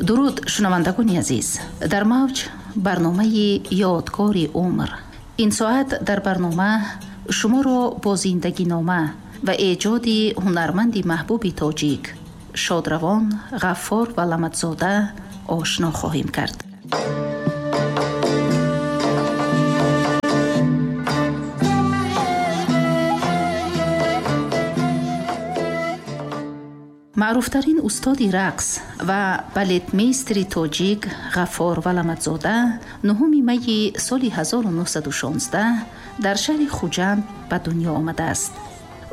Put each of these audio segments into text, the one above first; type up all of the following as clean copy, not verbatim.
Дуруд, шунавандагони азиз. Дар мавҷ барномаи «Ёдгори умр». Ин соат дар барнома шуморо бо зиндагинома ва эҷоди ҳунарманди маҳбуби тоҷик шодравон Ғаффор Валаматзода ошно хоҳем кард. Маъруфтарин устоди рақс ва балетмейстери тоҷик Ғаффор Валаматзода 9 майи соли 1916 дар шаҳри Хуҷанд ба дунё омадааст.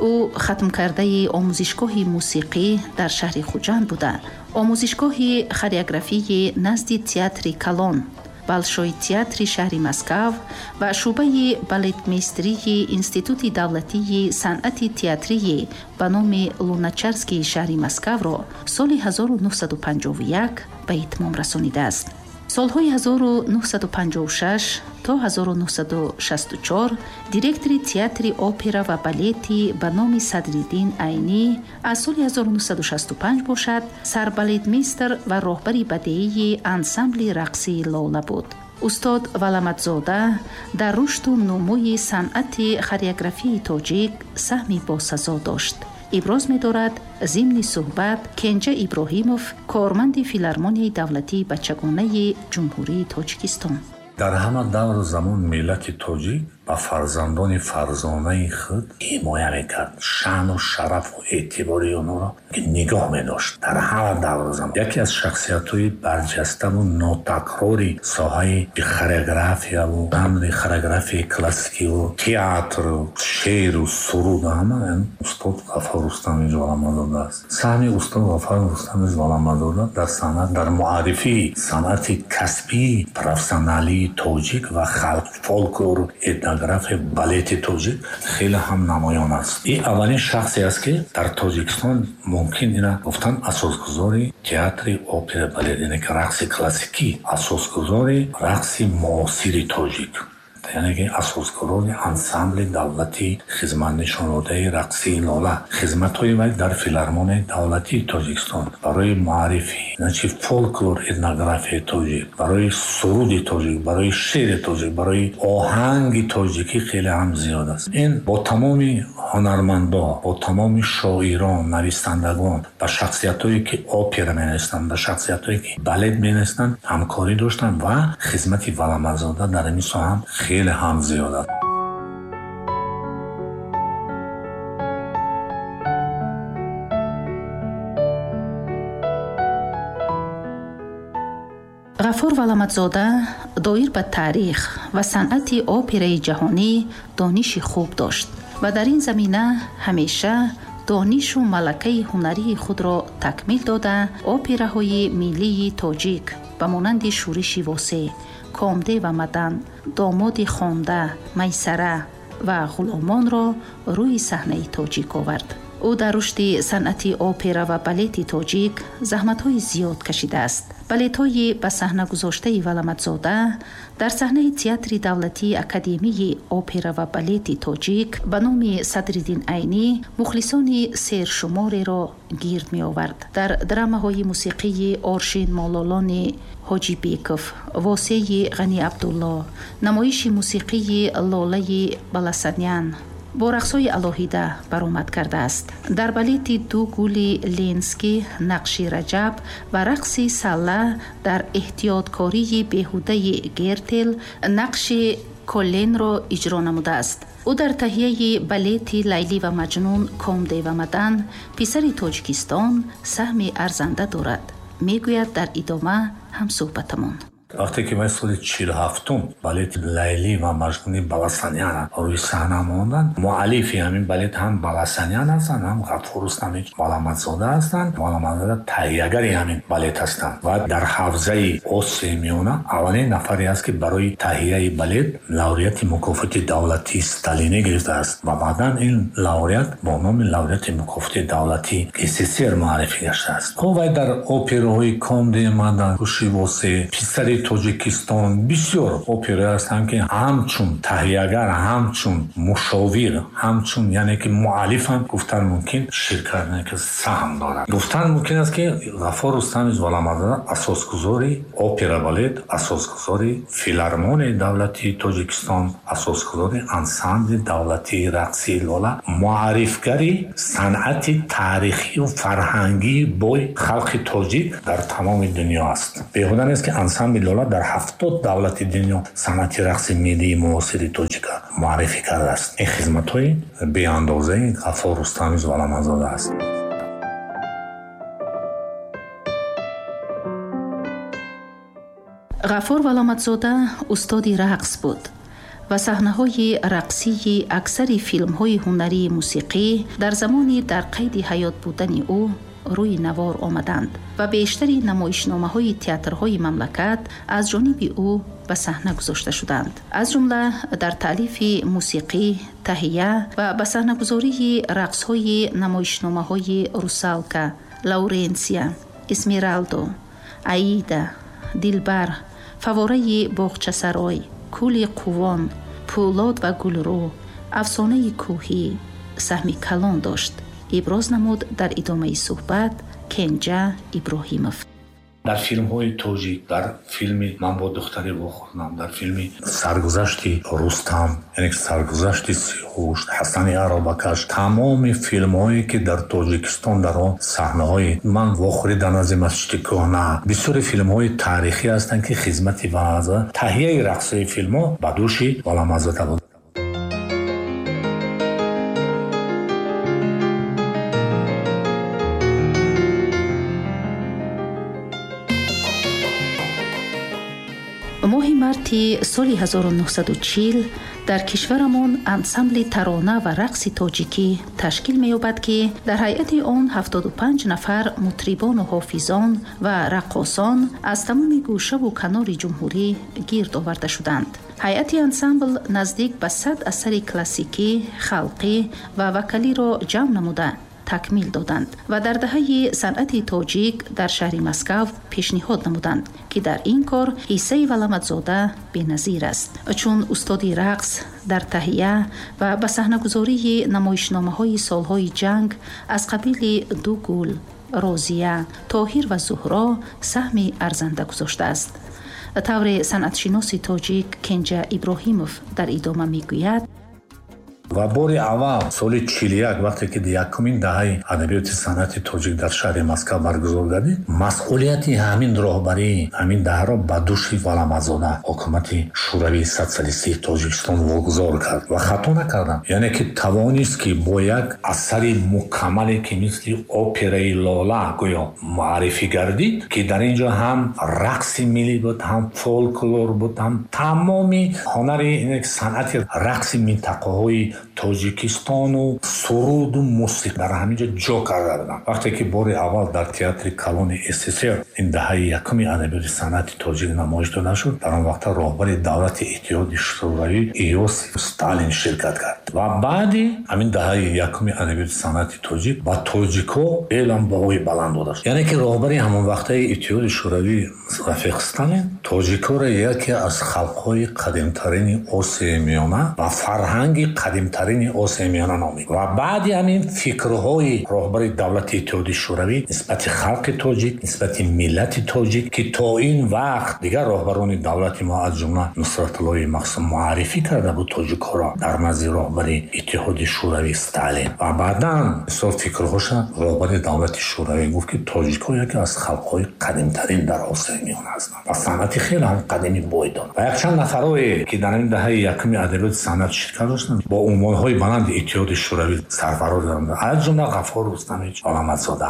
Ӯ хатмкардаи омӯзишгоҳи мусиқӣ дар шаҳри Хуҷанд буда, омӯзишгоҳи хореографии назди театри калон, Болшой театри шаҳри Москав ва шӯъбаи балетмейстерии Институти давлатии санъати театрии ба номи Луначарскии шаҳри Москавро соли 1951 ба итмом расонидааст. Солҳои 1956 то 1964 директори театри опера ва балети ба номи Садриддин Айнӣ, аз соли 1965 бошад сарбалетмейстер ва роҳбари бадеии ансамбли рақсии «Лола» буд. Устод Валаматзода дар рушду нумӯи санъати хореографияи тоҷик саҳми босазо дошт. Иброз медорад зимни суҳбат Кенҷа Иброҳимов, корманди филармонияи давлатии бачагонаи Ҷумҳурии Тоҷикистон. Дар ҳама давру замон миллати тоҷик ба фарзандони фарзонаи худ ҳимоя мекард, шаъну шарафу эътибори онҳоро нигоҳ медошт. Дар ҳама давру замон яке аз шахсиятҳои барҷаставу нотакрори соҳаи хореографияву жанри хореографияи классикиву театру шеъру суруд ҳама устод Ғаффор Рустамович Валаматзода аст. Саҳми устод Ғаффор Рустамович Валаматзода дар санъат, дар муаррифии санъати касбии профессионалии тоҷик ва халқ, фолклору этнография, балети тоҷик хеле ҳам намоён аст. Ин аввалин шахсе аст, ки дар Тоҷикистон мумкин ина гуфтан асосгузори театри опера балет, яъне ки рақси классикӣ, асосгузори рақси муосири тоҷик, яъне ки асосгузори ансамбли давлатии хизматнишондодаи рақсии «Лола». Хизматҳои вай дар филармонияи давлатии Тоҷикистон барои муаррифӣ, значи, фолклор, этнографияи тоҷик, барои суруди тоҷик, барои шеъри тоҷик, барои оҳанги тоҷикӣ хеле ҳам зиёд аст. Ин бо тамоми ҳунармандо, бо тамоми шоирон, нависандагон, ба шахсиятҳое ки опера менависанд, ба шахсиятҳое ки балет менависанд, ҳамкорӣ доштанд ва хизмати Валаматзода дар ин соҳа хеле ҳам зиёд аст. Ғаффор Валаматзода доир ба таърих ва санъати операи ҷаҳонӣ дониши хуб дошт ва дар ин замина ҳамеша донишу малакаи ҳунарии худро такмил дода, операҳои миллии тоҷик ба монанди «Шӯриши Восеъ», «Комде ва Мадан», «Домоди хонда», «Майсара» ва «Ғуломонро» рӯи саҳнаи тоҷик овард. Ӯ дар рушди санъати опера ва балети тоҷик заҳматҳои зиёд кашидааст. Балетҳои ба саҳна гузоштаи Валаматзода дар саҳнаи театри давлатии академияи опера ва балети тоҷик ба номи Садриддин Айнӣ мухлисони сершумореро гирд меовард. Дар драмаҳои мусиқии Оршин Мололони Ҳоҷибеков, Восеи Ғани Абдулло, намоиши мусиқии Лолаи Баласанян бо рақсҳои алоҳида баромад кардааст. Дар балети «Ду гули Ленский» нақши Раҷаб ва рақси салла, дар «Эҳтиёткории беҳудаи Гертел» нақши Колленро иҷро намудааст. Ӯ дар таҳияи балети «Лайлӣ ва Маҷнун», «Комде ва Мадан», «Писари Тоҷикистон» саҳми арзанда дорад, мегӯяд дар идома ҳамсӯҳбатамон. Вақте ки вай соли 47-ум балети «Лайлӣ ва Маҷнуни» Баласанян рӯи саҳна монданд, муаллифи ҳамин балет ҳам Баласанян ҳастанд, ҳам Ғаффор Рустамович Валаматзода ҳастанд. Валаматзода таҳиягари ҳамин балет ҳастанд ва дар ҳавзаи Осиёи Миёна аввалин нафаре аст, ки барои таҳияи балет лауреати мукофоти давлатии Сталинӣ гирифтааст ва баъдан ин лауреат бо номи лауреати мукофоти давлатии СССР муаррифӣ гаштааст. Хуб, вай дар операҳои «Комде Мадан», «Шӯриши Восеъ», «Писари операи Тоҷикистон, бисёр опера ҳастанд, ки ҳамчун таҳиягар, ҳамчун мушовир, ҳамчун яъне ки муаллиф ҳам гуфтан мумкин ширкат ки саҳм дорад. Гуфтан мумкин аст, ки Ғаффор Рустамович Валаматзода асосгузори опера балет, асосгузори филармонияи давлатии Тоҷикистон, асосгузори ансамбли давлатии рақсии Лола, муаррифгари санъати таърихию фарҳангии бой халқи тоҷик дар тамоми дунё аст. Беҳуда нест, ки ансамбли Лола дар 70 давлати дунё санъати рақси миллии муосири тоҷика муаррифӣ кардааст. Ин хизматҳои беандозаи Ғаффор Рустамович Валаматзода аст. Ғаффор Валаматзода устоди рақс буд ва саҳнаҳои рақсии аксари филмҳои ҳунарии мусиқӣ дар замони дар қайди ҳаёт будани ӯ рӯи навор омаданд ва бештари намоишномаҳои театрҳои мамлакат аз ҷониби ӯ ба саҳна гузошта шуданд. Аз ҷумла дар таълифи мусиқӣ, таҳия ва ба саҳнагузории рақсҳои намоишномаҳои Русалка, Лауренсия, Эсмералдо, Аида, Дилбар, Фавораи боғчасарой, Кӯли Қувон, Пӯлод ва Гулрӯ, Афсонаи кӯҳӣ саҳми калон дошт. Иброз намуд дар идомаи суҳбат Кенҷа Иброҳимов. Дар филмҳои тоҷик, дар филми Ман бо духтаре вохӯрдам, дар филми Саргузашти Рустам, яъне Саргузашти Сиҳуш, Ҳасани Аробакаш, тамоми филмҳое ки дар Тоҷикистон дар он саҳнаҳои ман вохӯрӣ дар назди масҷиди кӯҳна, бисёри филмҳои таърихӣ ҳастанд, ки хизмати Валаматзода, таҳияи рақсҳои филмҳо ба дӯши Валаматзода буд. Моҳи марти соли 1940 дар кишварамон ансамбли тарона ва рақси тоҷикӣ ташкил меёбад, ки дар ҳайати он 75 нафар мутрибону ҳофизон ва раққосон аз тамоми гӯшаву канори ҷумҳурӣ гирд оварда шуданд. Ҳайати ансамбл наздик ба 100 асари классикӣ, халқӣ ва вокалиро ҷамъ намуда такмил доданд ва дар даҳаи санъати тоҷик дар шаҳри Москав пешниҳод намуданд, ки дар ин кор ҳиссаи Валаматзода беназир аст, чун устоди рақс дар таҳия ва ба саҳнагузории намоишномаҳои солҳои ҷанг аз қабили Ду гул, Розия, Тоҳир ва Зуҳро саҳми арзанда гузоштааст. Тавре санъатшиноси тоҷик Кенҷа Иброҳимов дар идома мегӯяд: Ва бори аввал соли 41, вақте ки якумин даҳаи адабиёти санъати тоҷик дар шаҳри Москав баргузор гардид, масъулияти ҳамин роҳбарии ҳамин даҳаро ба дӯши Валаматзода ҳукумати Шӯравии Социалистии Тоҷикистон вогузор кард ва хато накардам. Яъне ки тавонист, ки бо як асари мукаммале, ки мисли операи Лола гӯё муаррифӣ гардид, ки дар ин ҷо ҳам рақси миллӣ буд, ҳам фолклор буд, ҳам тамоми ҳунари санъати рақси минтақаҳои Тоҷикистону суруду мусиқӣ дар ҳамин ҷо ҷо карда буданд. Вақте ки бори аввал дар театри калони СССР ин даҳаи якуми адабиёти санъати тоҷик намоиш дода шуд, дар он вақта роҳбари давлати Иттиҳоди Шӯравӣ Иосиф Сталин ширкат кард. Ва баъди ҳамин даҳаи якуми адабиёти санъати тоҷик ба тоҷикҳо эълам баҳои баланд дода шуд. Яъне ки роҳбари ҳамон вақтаи Иттиҳоди Шӯравӣ рафиқ Сталин тоҷикҳоро яке аз халқҳои қадимтарини Осиёи Миёна ва фарҳанги қадимтарини Осиёи Миёна номид. Ва баъди ҳамин фикрҳои роҳбари давлати Иттиҳоди Шӯравӣ нисбати халқи тоҷик, нисбати миллати тоҷик, ки то ин вақт дигар роҳбарони давлати мо аз ҷумла Нусратуллои Махсум муаррифӣ карда буд тоҷикҳоро дар назди роҳбари Иттиҳоди Шӯравӣ Сталин. Ва баъдан мисол фикрҳоша роҳбари давлати Шӯравӣ гуфт, ки тоҷикҳо яке аз халқҳои қадимтарин дар Осиёи Миёна ҳастанд ва санъати хеле ҳам қадими бой доранд. Ва якчанд нафарое, ки дар ин даҳаи якуми адабиёти санъат ширкат доштанд, бо унвонҳои баланди Иттиҳоди Шӯравӣ сарфароз доранд, аз ҷумла Ғаффор Рустамович Валаматзода.